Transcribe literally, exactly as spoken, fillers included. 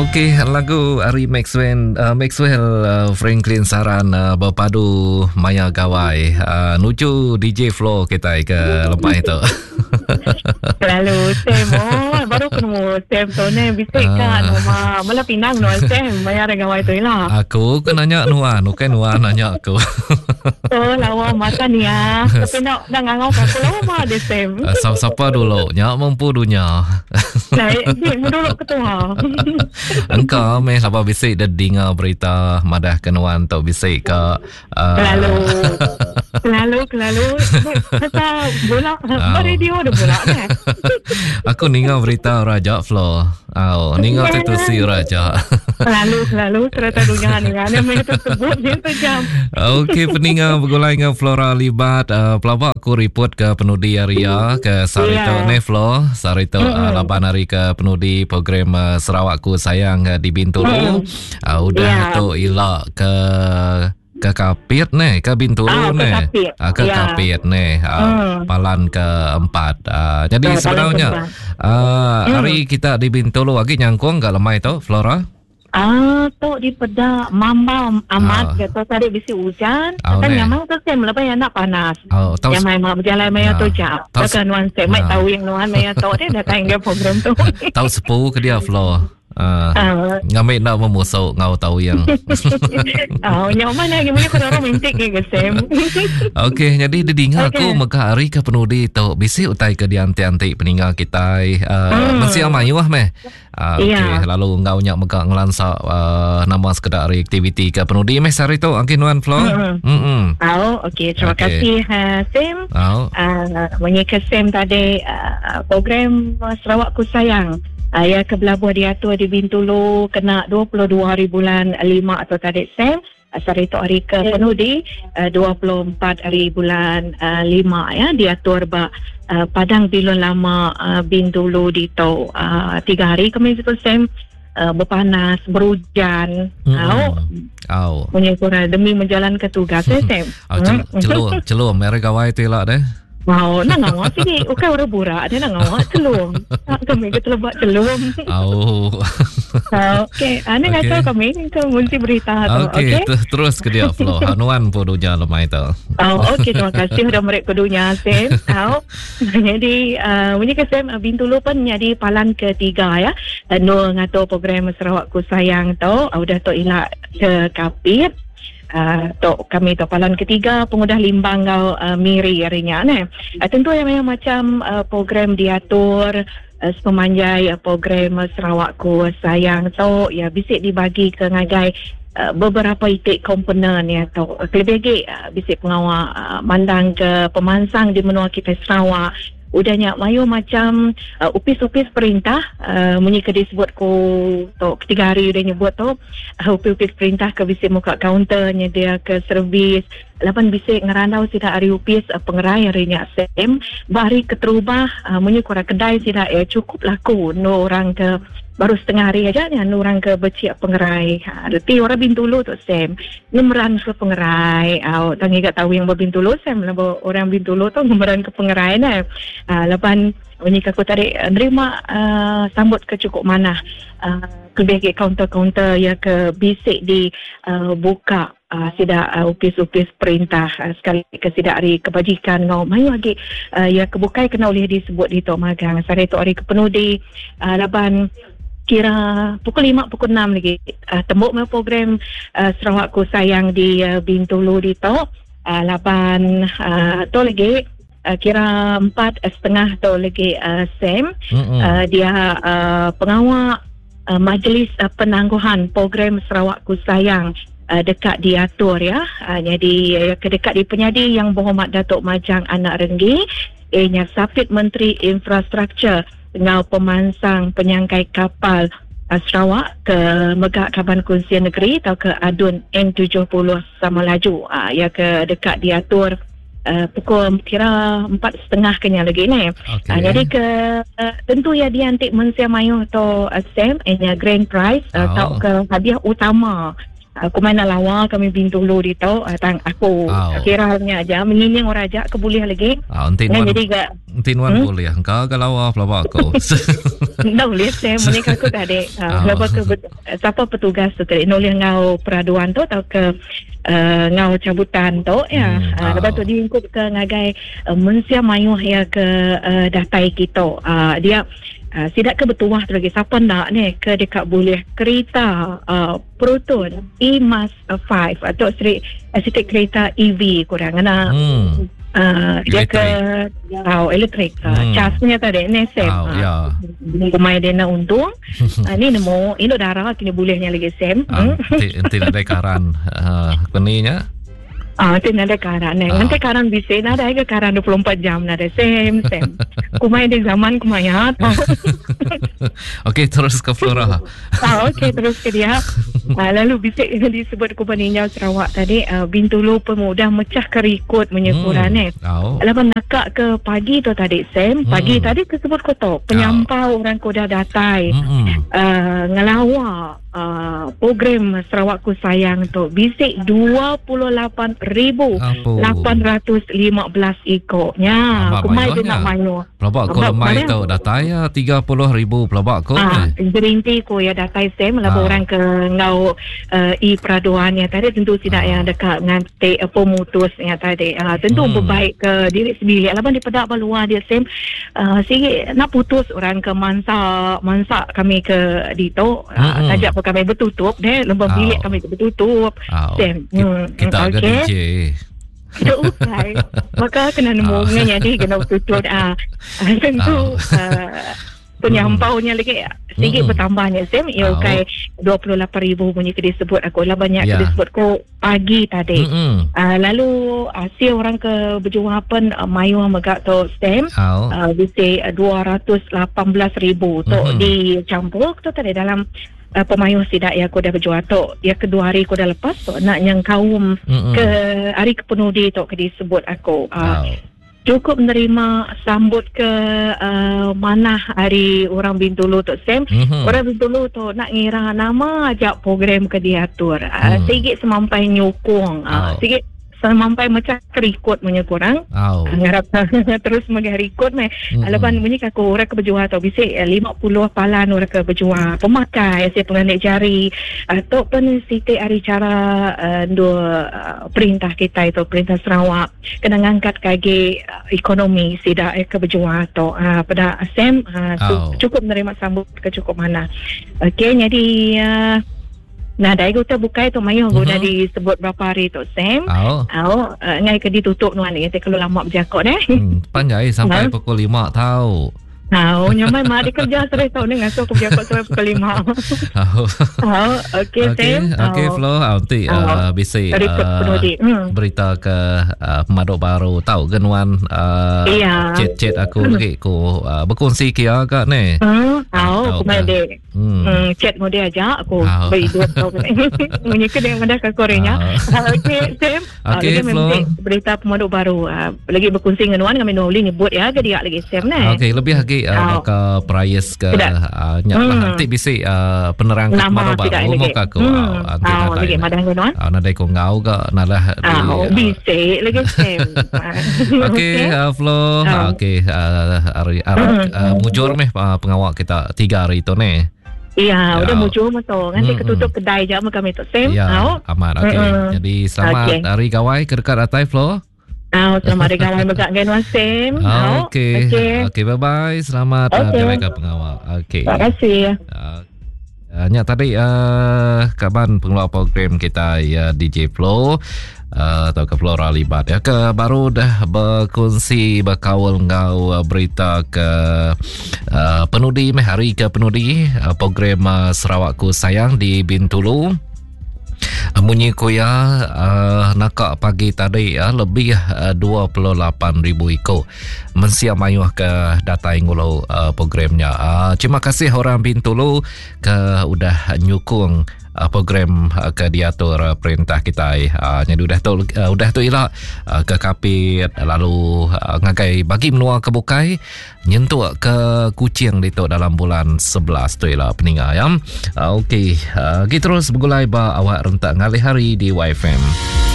Okey, lagu ari Maxwell uh, Maxwell uh, Franklin Saran uh, berpadu Maya Gawai. Uh, nuju D J Flo kita ke lempai itu. Lalu Sam, oh, baru ketemu Sam tu ni bisik kan rumah. Mula pinang nuan Sam Maya Gawai tu lah. Aku ke nanya nuan, bukan nuan nanya aku. Oh, lawa makan ya. Tapi nak nak ngangau aku lawa mah dia Sam. Siapa dulu? Nyak mampu dunia. Lai, dia dulu ketua. Engkau meh laba bisik dah dengar berita madah ke nuan tau bisik ke uh... Kelalu. Kelalu, kelalu. Kata bola, oh. Radio dah bola kan. Aku ninga berita Raja Flo. Oh, ninga tu si Raja. Kelalu, kelalu serta dunia ni kan. Yang tu sebut dia sejam. Okey, peninga bergulai dengan Flora Libat. Uh, pelabak aku report ke penudi area ke Sarito yeah. Ne Flo. Sarito mm-hmm. uh, lapan hari ke penudi program uh, Sarawakku Sayang uh, di Bintulu. Mm. Uh, udah yeah. tu ilak ke ke Kapit ne, ke Bintulu ah, ne. Ke ah, ke ya. Kapit ne, ah, hmm. Palan keempat. Ah, jadi oh, sebenarnya ah, hmm. hari kita di Bintulu lagi nyangkung gak lemai tu Flora? Ah, tu di peda mamba amat ah. Kata tadi bisi hujan, oh, kan memang tu sem lepas yang nak panas. Oh, yang mai mak berjalan maya tu jap. Takkan nuan sem mai tahu yang nuan maya tu dia datang ke program tu. Tahu sepu ke dia Flo. Uh, uh, ngambil nak memusuk ngau tahu yang. Oh, nyaman lagi punya kau romantik ke Sam. Okey, jadi dia dengar okay. Aku mega hari ke penudi tu bisi utai ke dianti-anti peninggal kita uh, hmm. Mesti amayuh meh. Uh, okey, yeah. Lalu ngau nyak mega ngelansa uh, nama sekedar hari aktiviti ke penudi meh sehari tu angkin nuan Flo. Hmm. Hmm. Oh, okey, terima okay. kasih uh, Sam. Oh. Uh, menyeka Sam tadi uh, program Sarawakku Sayang. Uh, ya ke Belabuh diatur di Bintulu kena dua puluh dua hari bulan lima atau tadi Sam. Asal itu hari ke penudi uh, dua puluh empat hari bulan uh, lima ya diatur ba uh, Padang Bilun Lama uh, Bintulu di tu uh, tiga hari kami itu Sam uh, berpanas berhujan. Mm. Au. Au. Punya kurang demi menjalankan tugas ya Sam. Oh, cel- celum celum mereka gawai tu lah deh. Wow, nak ngawak sini. Bukan orang burak, dia nak ngawak celum. Tak kami ke telebak celum. Oh. Okey, ane okay. Ngacau kami ke munci berita tu. Okey, okay? Terus ke dia Flo. Hanuan pun dunia lemai tu. Oh, okey, terima kasih sudah mereka dunia Sam. Oh. Jadi, uh, bunyi ke Sam Bintulu pun jadi palan ketiga ya. Nur ngatur program Sarawakku Sayang tu, udah tu ilak ke Kapit. Uh, tok kami tok palan ketiga pengudah Limbang ngau uh, Miri harinya ne. Uh, tentu yang memang macam uh, program diatur uh, sepemanjai uh, program Sarawakku Sayang tok ya bisik dibagi ke ngagai uh, beberapa itik komponen ya tok lebih lagi uh, bisik pengawal uh, mandang ke pemansang di menua kita Sarawak. Udahnya mayu macam uh, upis-upis perintah uh, munyi ke disebut ku tok ketiga hari udah nyebut tu uh, upis-upis perintah ke bisik muka kaunternya dia ke servis lapan bisik ngerandau sida hari upis uh, pengerai hari nya sem bari keterubah uh, munyi kurang kedai sida eh cukup laku no orang ke baru setengah hari aja ni anu orang ke beciak pengerai. Ha, reti orang Bintulu tu Sam. Ngemeran ke pengerai. Au tangi gak tahu yang berbintulu Sam lebo orang Bintulu tu ngemeran ke pengerai nah. Ha, lepan bunyi aku tarik nerima uh, sambut ke cukup manah. Uh, lebih ke kaunter-kaunter ya ke bisik di uh, buka uh, sidak uh, upis-upis perintah uh, sekali ke sidak hari kebajikan ngau mayu lagi uh, ya kebukai kena oleh disebut di tok magang. Sare tok hari kepenudi uh, laban kira pukul lima, pukul enam lagi uh, tembok me program uh, Sarawakku Sayang di uh, Bintulu di tok uh, lapan uh, tu lagi uh, kira empat setengah tu lagi uh, Sam uh, dia uh, pengawal uh, majlis uh, penangguhan program Sarawakku Sayang uh, dekat diatur ya uh, jadi uh, ke dekat di penyadi yang berhormat Datuk Majang Anak Renggi ianya Sapit Menteri Infrastruktur ngau pemansang penyangkai kapal uh, Sarawak ke Megak Kaban Kunsian Negeri atau ke Adun N tujuh puluh Samalaju uh, ya ke dekat diatur uh, pukul kira empat setengah kenya lagi ni. Okay. Uh, jadi ke uh, tentu ya dia antik mensia mayu atau uh, Sam nya grand prize uh, Oh. atau ke hadiah utama. Aku main lawa kami Bintulu di tu tang aku oh. Kira nya aja menyinying orang aja ke boleh lagi. Ah, enti nuan jadi ga enti nuan hmm? boleh engka ga lawa pelaba aku. Enda boleh saya menikah aku tadi. Uh, oh. ke siapa petugas tu tadi nolih ngau peraduan tu atau ke uh, ngau cabutan tu ya. Hmm. Uh, lepas tu diingkup ke ngagai uh, mensia mayuh ya ke uh, datai kita. Uh, dia Uh, sidak ke bertuah tu lagi siapa nak ni ke dekat boleh kereta uh, Proton E M A S lima atau seri uh, kereta E V kurang kena hmm. uh, dia ke oh, elektrik uh, hmm. Cas punya tadi ni Sam oh, uh, ya. Kumai dia nak untung uh, ni nemu ini darah kini bolehnya lagi Sam. uh, hmm. Nanti ada karan uh, keninya. Ah, tu nada karan eh. Nanti karan bisa nada ke karan dua puluh empat jam nada same same. Kumai di zaman kumai ya. Okey, terus ke Flora. Ah, okey, terus ke dia. Ah, lalu bisa disebut Kuban Ninjau Sarawak tadi uh, Bintulu pemudah mecah kerikut menyekuran hmm. eh. Oh. Lepas nakak ke pagi tu tadi Sam, pagi hmm. tadi kesebut kotor penyampau oh. orang koda datai. Hmm. Uh, ngelawa Uh, program Sarawakku Sayang tu bisik dua puluh lapan ribu lapan ratus lima belas ikoknya. Kumai dia nak mayu. Pelabak ko lemai tu datai ya tiga puluh ribu pelabak ko. Ah, gerinti ko ya datai Sam labo orang ke ngau uh, e peraduannya tadi tentu tidak ah. yang dekat ngantik uh, pemutusnya tadi. Uh, tentu hmm. berbaik ke diri sendiri. Laban di pedak baluar dia Sam uh, sikit nak putus orang ke mansa mansa kami ke dito uh, hmm. tajak kami bertutup deh, lembang oh. bilik kami bertutup. Oh. Sam. Hmm. Kita agak okay. D J. Kita ukai. Maka kena nemu oh. jadi kena bertutup. Ah, tentu oh. uh, penyampaunya hmm. lagi sedikit hmm. bertambahnya Sam. Ya oh. ukai dua puluh lapan ribu punya ke disebut aku lah banyak yeah. ke disebut ko pagi tadi. Mm-hmm. Uh, lalu hasil orang ke berjuang pun uh, mayu megak tu Sam. Oh. Uh, bisa dua ratus lapan belas ribu tu mm-hmm. dicampur tu tadi dalam Uh, pemayuh sidak ya aku dah berjual tu ya kedua hari aku dah lepas tu nak yang kaum mm-hmm. ke hari kepenudi tu ke disebut aku uh, oh. cukup menerima sambut ke uh, manah hari orang Bintulu tu Sam. Mm-hmm. Orang Bintulu tu nak ngira nama ajak program ke diatur uh, mm. sikit semampai nyukung uh, oh. sikit sampai macam kerikut punya kurang. Oh. Ngarap terus mengharikut meh. Mm-hmm. Lepas bunyi aku orang ke berjual atau bisik lima puluh palan orang ke berjual pemakai saya penganik jari atau pun siti hari cara uh, dua uh, perintah kita itu perintah Sarawak kena ngangkat kaki uh, ekonomi sidak eh, ke berjual atau uh, pada Sam uh, oh. cukup menerima sambut ke cukup mana. Okey, jadi uh, nah, dah ikut terbuka itu mayu mm-hmm. dah disebut berapa hari tu Sam. Oh. Oh, uh, ngai ke ditutup nuan ni kalau lama berjakot eh. Hmm, panjai sampai ha? pukul lima tahu. Tahu, nyamai mak dia kerja sore tahu ni ngasuh aku berjakot sampai pukul lima. Oh. Oh, okey okay, Sam. Okey Flo, nanti oh. uh, bisi uh, hmm. berita ke uh, pemaduk baru tahu ke nuan uh, iya. chat-chat aku hmm. lagi ku uh, berkongsi kia agak ni. Hmm, tahu aku mai dek. Hmm. Hmm, chat mu dia aja aku oh. beridup tau. Munyi ke dia madah ke korenya. Oh. Okey Sam. Okey Flo. Berita pemaduk baru uh, lagi berkongsi dengan nuan kami nuli nyebut ya ke dia lagi Sam ni. Okey, lebih lagi uh, oh. baka price ke uh, nyak lah hmm. nanti bisi uh, penerang ke pemaduk baru mau ke aku. Hmm. Nanti oh, lagi madah nuan. Uh, nadai ko ngau ke nalah di oh, bisi lagi Sam. Okey uh, Flo. Oh. Okey uh, hari uh, uh, mujur meh uh, pengawak kita tiga hari tu ni. Iya, ya. udah mujur betul. Nanti mm-mm. ketutup kedai je sama kami tu Sam. Ya, oh. amat. Okey. Mm-mm. Jadi selamat okay. hari gawai ke dekat atai Flo. Ah, selamat hari gawai megak dengan Wan Sam. Oh, okey. Okey, okay, bye-bye. Selamat okay. uh, jalan pengawal. Okey. Terima kasih. Uh, uh, nya tadi uh, kaban pengelola program kita ya D J Flo uh, atau ke Flora Libat ya ke baru dah berkongsi berkawal ngau uh, berita ke uh, penudi meh hari ke penudi uh, program uh, Sarawakku Sayang di Bintulu. Munyi kuya uh, nakak pagi tadi uh, lebih uh, dua puluh lapan ribu iko mensia mayuh ke datai ngulau uh, programnya. Uh, terima kasih orang Bintulu ke udah nyukung uh, program uh, ke diatur uh, perintah kita. Uh, jadi udah tu uh, udah tu ila uh, ke Kapit lalu uh, ngagai bagi menua ke Bukai nyentuk ke Kuching ditu dalam bulan sebelas tu ila peninga ya. Uh, okey, uh, kita terus bergulai ba awak rentak Ngalih hari di Y F M.